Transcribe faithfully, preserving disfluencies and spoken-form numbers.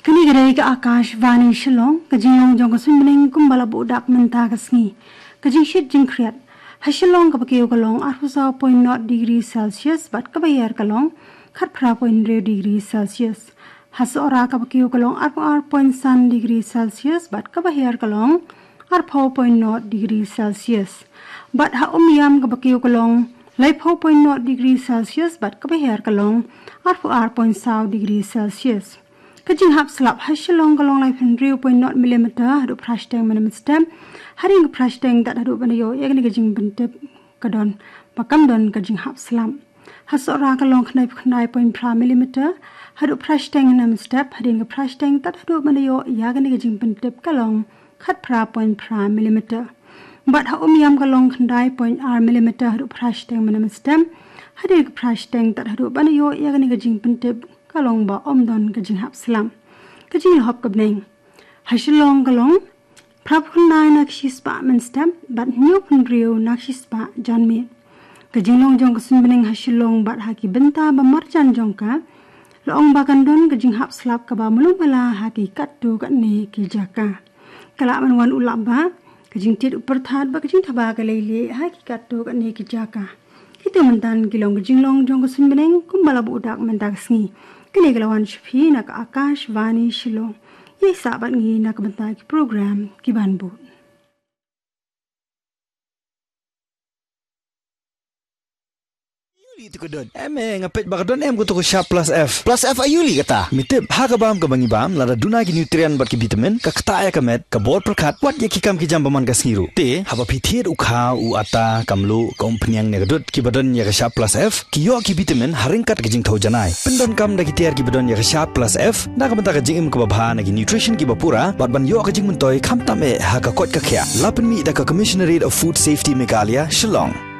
Kane ka dei ka Akashvani Shillong, ka jinglong jong ka suiñbneng kumba la buh dak mynta ka sngi. Ka jingshit jingkhriat. Ha Shillong kaba kiew ka long arphew saw point nought degree Celsius bad kaba hiar ka long khatphra point hynriew degree Celsius. Ha Sohra kaba kiew ka long arphew ar point san degree Celsius bad kaba hiar ka long arphew point nought degree Celsius. Bad ha Umiam kaba kiew ka long laiphew point nought degree Celsius bad kaba hiar ka long arphew ar point saw degree Celsius. Ka jinghap slap ha Shillong ka long laiphew hynriew point nought millimeter haduh phra shiteng mynne mynstep. Hadien ka phra shiteng tad haduh ban ïoh ïa kane ka jingpyntip ka don ba kam don ka jinghap slap. Ha Sohra ka long khyndaiphew khyndai point phra millimeter haduh phra shiteng mynne mynstep. Hadien ka phra shiteng tad haduh ban ïoh ïa kane ka jingpyntip ka long khatphra point phra millimeter. Bad ha Umiam ka long khyndai point ar millimeter haduh phra shiteng mynne mynstep. Hadien ka phra shiteng tad haduh ban ïoh ïa kane ka jingpyntip ka long ba ym don ka jinghap slap. Ka jinglehop ka bneng. Ha Shillong ka long phraphew khyndai na ka shispah mynstep bad hynñiewphew hynriew na ka shispah janmiet. Ka jinglong jong ka suiñbneng ha Shillong bad ha ki bynta ba marjan jong ka la ong ba kan don ka jinghap slap kaba malu mala ha ki katto katne ki jaka. Ka lah ban wan u lap ba ka jingtied u pyrthat bad ka jingthaba ka leilieh ha ki katto katne ki jaka. Kito mynta ki long ka jinglong jong ka suiñbneng kumba la buh dak mynta ka sngi. Kane ka la wan sha phi na ka Akashvani Shillong. Ïa sah bad ngi na ka bynta ki program ki ban bud. Aïu li to ka dud? Em eh, nga peit ba ka don em kato ka Sharp Plus F. Plus F aïu li kata? Me tip, ha ka bam kaba ngi bam, lada duna ki nutrient bad ki vitamin, ka ktah ïa ka met, ka bor pyrkhat, wat ïa ki kam ki jam ba man ka sngi ruh. Te, haba phi thied u khaw, u atta, ka mluh, ka umphniang ne ka dud, kiba don ïa ka Sharp Plus F, ki ïoh ki vitamin, ha ryngkat ka jingthew janai. Pyndonkam da ki tiar kiba don ïa ka Sharp Plus F, na ka bynta ka jingim kaba bha na ki nutrition kiba pura, bad ban ïoh ka jingmyntoi, khamtam eh, ha ka koit ka khiah. La pynmih da ka Commissionerate of Food Safety Meghalaya, Shillong.